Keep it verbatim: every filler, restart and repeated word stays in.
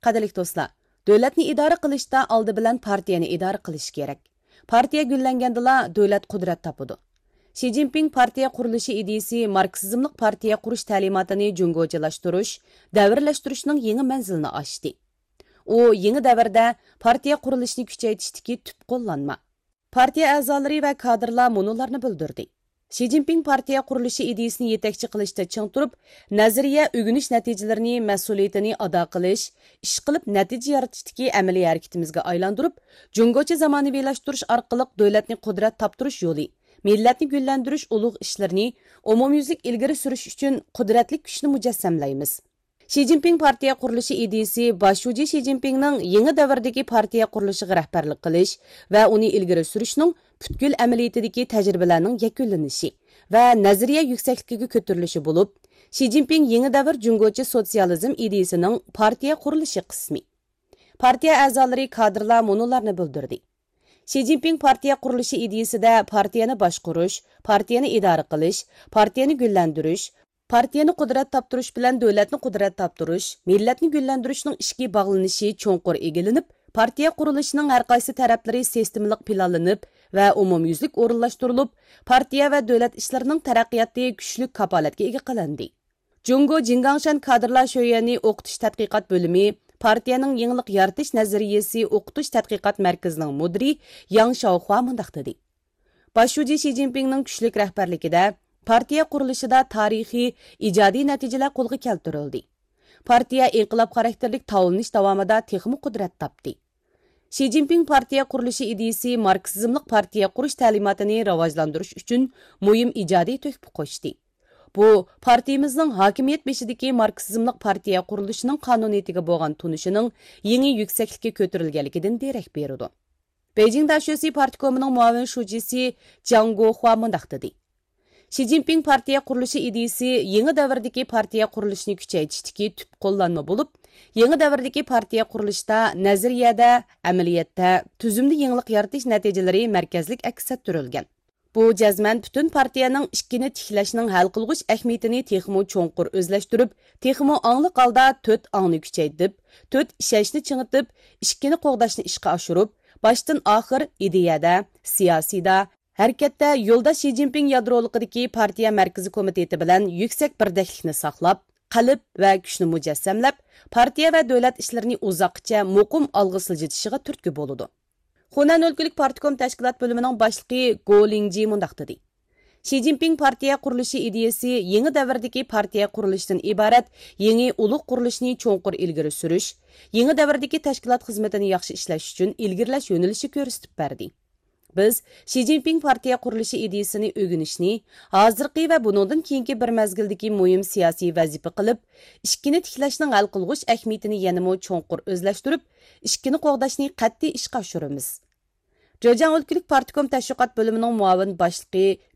قەدىرلىك دوستلار، دۆلەتنى ئىدارە قىلىشتا ئالدى بىلەن پارتىيەنى ئىدارە قىلىش كېرەك. پارتىيە گۈللەنگەندىلا دۆلەت قۇدرەت تاپىدۇ. شى جىنپىڭ پارتىيە قۇرۇلۇشى ئىدىيىسى ماركسىزملىق پارتىيە قۇرۇش تەلىماتىنى جۇڭگوچىلاشتۇرۇش، دەۋرلەشتۈرۈشنىڭ يېڭى مەنزىلىنى ئاچتى. ئۇ يېڭى دەۋردە پارتىيە قۇرۇلۇشىنى كۈچەيتىشتىكى تۈپ قوللانما. پارتىيە ئەزالىرى ۋە كادىرلار مۇنۇلارنى بىلدۈردى. شى جىنپىڭ پارتىيە قۇرۇلۇشى ئىدىيىسىنى يېتەكچى قىلىشتا چىڭ تۇرۇپ، نەزەرىيە ئۆگىنىش نەتىجىلىرىنى مەسئۇلىيىتىنى ئادا قىلىش، ئىش قىلىپ نەتىجە يارىتىشتىكى ئەمەلىي ھەرىكىتىمىزگە ئايلاندۇرۇپ، جۇڭگوچە زامانىۋىلاشتۇرۇش ئارقىلىق دۆلەتنى قۇدرەت تاپتۇرۇش يولى، مىللەتنى گۈللەندۈرۈش ئۇلۇغ ئىشلىرىنى ئومۇميۈزلۈك ئىلگىرى سۈرۈش ئۈچۈن قۇدرەتلىك كۈچنى مۇجەسسەملەيمىز. شى جىنپىڭ پارتىيە قۇرۇلۇشى ئىدىيىسى باش شۇجى شى جىنپىڭنىڭ يېڭى دەۋردىكى پارتىيە قۇرۇلۇشىغا رەھبەرلىك قىلىش ۋە ئۇنى ئىلگىرى سۈرۈشنىڭ پۈتكۈل ئەمەلىيىتىدىكى تەجرىبىلەرنىڭ يەكۈنلىنىشى ۋە نەزەرىيە يۈكسەكلىكىگە كۆتۈرۈلۈشى بولۇپ، شى جىنپىڭ يېڭى دەۋر جۇڭگوچە سوتسىيالىزم ئىدىيىسىنىڭ پارتىيە قۇرۇلۇشى قىسمى. پارتىيە ئەزالىرى، كادىرلار مۇنۇلارنى بىلدۈردى. شى جىنپىڭ پارتىيە قۇرۇلۇشى ئىدىيىسىدە پارتىيەنى باشقۇرۇش، پارتىيەنى ئىدارە قىلىش، پارتىيەنى گۈللەندۈرۈش، پارتىيەنى قۇدرەت تاپتۇرۇش بىلەن دۆلەتنى قۇدرەت تاپتۇرۇش، مىللەتنى گۈللەندۈرۈشنىڭ ئىچكى باغلىنىشى چوڭقۇر ئىگىلىنىپ، پارتىيە قۇرۇلۇشىنىڭ ھەرقايسى تەرەپلىرى سىستېمىلىق پىلانلىنىپ ۋە ئومۇميۈزلۈك ئورۇنلاشتۇرۇلۇپ، پارتىيە ۋە دۆلەت ئىشلىرىنىڭ تەرەققىياتى كۈچلۈك كاپالەتكە ئىگە قىلىندى. جۇڭگو جىڭگاڭشەن كادىرلار شۆيۈەنى ئوقۇتۇش تەتقىقات بۆلۈمى پارتىيەنىڭ يېڭىلىق يارىتىش نەزەرىيىسى ئوقۇتۇش تەتقىقات مەركىزىنىڭ مۇدىرى ياڭ شاۋخۇا مۇنداق دېدى. باش شۇجى شى جىنپىڭنىڭ كۈچلۈك رەھبەرلىكىدە پارتىيە قۇرۇلۇشىدا تارىخىي، ئىجادىي نەتىجىلەر قولغا كەلتۈرۈلدى. پارتىيە ئىنقىلاب خاراكتېرلىك تاۋلىنىش داۋامىدا تېخىمۇ قۇدرەت تاپتى. شى جىنپىڭ پارتىيە قۇرۇلۇشى ئىدىيىسى ماركسىزملىق پارتىيە قۇرۇش تەلىماتىنى راۋاجلاندۇرۇش ئۈچۈن مۇھىم ئىجادىي تۆھپە قوشتى. بۇ، پارتىيىمىزنىڭ ھاكىمىيەت بېشىدىكى ماركسىزملىق پارتىيە قۇرۇلۇشىنىڭ قانۇنىيىتىگە بولغان تونۇشىنىڭ يېڭى يۈكسەكلىككە كۆتۈرۈلگەنلىكىدىن دېرەك بېرىدۇ. بېيجىڭ داشۆسى پارتكومىنىڭ مۇئاۋىن شۇجىسى جياڭ گوخۇا مۇنداق دېدى: شى جىنپىڭ پارتىيە قۇرۇلۇشى ئىدىيىسى يېڭى دەۋردىكى پارتىيە قۇرۇلۇشىنى كۈچەيتىشتىكى تۈپ قوللانما بولۇپ، يېڭى دەۋردىكى پارتىيە قۇرۇلۇشىدا نەزەرىيەدە، ئەمەلىيەتتە، تۈزۈمدە يېڭىلىق يارىتىش نەتىجىلىرى مەركەزلىك ئەكس ئەتتۈرۈلگەن. بۇ جەزمەن پۈتۈن پارتىيەنىڭ ئىشىكىنى تىكلەشنىڭ ھەل قىلغۇچ ئەھمىيىتىنى تېخىمۇ چوڭقۇر ئۆزلەشتۈرۈپ، تېخىمۇ ئاڭلىق ھالدا تۆت ئاڭنى كۈچەيتىپ، تۆت ئىشەنچنى چىڭىتىپ، ئىشىكىنى قوغداشنى ئىشقا ئاشۇرۇپ، باشتىن ئاخىر ئىدىيەدە، سىياسىيدا، ھەرىكەتتە يولداش شى جىنپىڭ يادرولۇقىدىكى پارتىيە مەركىزىي كومىتېتى بىلەن يۈكسەك بىردەكلىكنى ساقلاپ، قەلب ۋە كۈچنى مۇجەسسەملەپ، پارتىيە ۋە دۆلەت ئىشلىرىنى ئۇزاققىچە مۇقىم ئالغا سىلجىتىشىغا تۈرتكە بولىدۇ. خۇنەن ئۆلكىلىك پارتكوم تەشكىلات بۆلۈمىنىڭ باشلىقى گو لىڭجى مۇنداق دېدى: شى جىنپىڭ پارتىيە قۇرۇلۇشى ئىدىيىسى يېڭى دەۋردىكى پارتىيە قۇرۇلۇشىدىن ئىبارەت يېڭى ئۇلۇغ قۇرۇلۇشنى چوڭقۇر ئىلگىرى سۈرۈش، يېڭى دەۋردىكى تەشكىلات خىزمىتىنى ياخشى ئىشلەش ئۈچۈن ئىلگىرىلەش يۆنىلىشى كۆرسىتىپ بەردى. بىز شى جىنپىڭ پارتىيە قۇرۇلۇشى ئىدىيىسىنى ئۆگىنىشنى، ھازىرقى ۋە بۇنىڭدىن كېيىنكى بىر مەزگىلدىكى مۇھىم سىياسىي ۋەزىپە قىلىپ، ئىشىكىنى تىكلەشنىڭ ھەل قىلغۇچ ئەھمىيىتىنى يەنىمۇ چوڭقۇر ئۆزلەشتۈرۈپ، ئىشىكىنى قوغداشنى قەتئىي ئىشقا ئاشۇرىمىز. جېجياڭ ئۆلكىلىك پارتكوم تەشۋىقات بۆلۈمىنىڭ مۇئاۋىن باشلىقى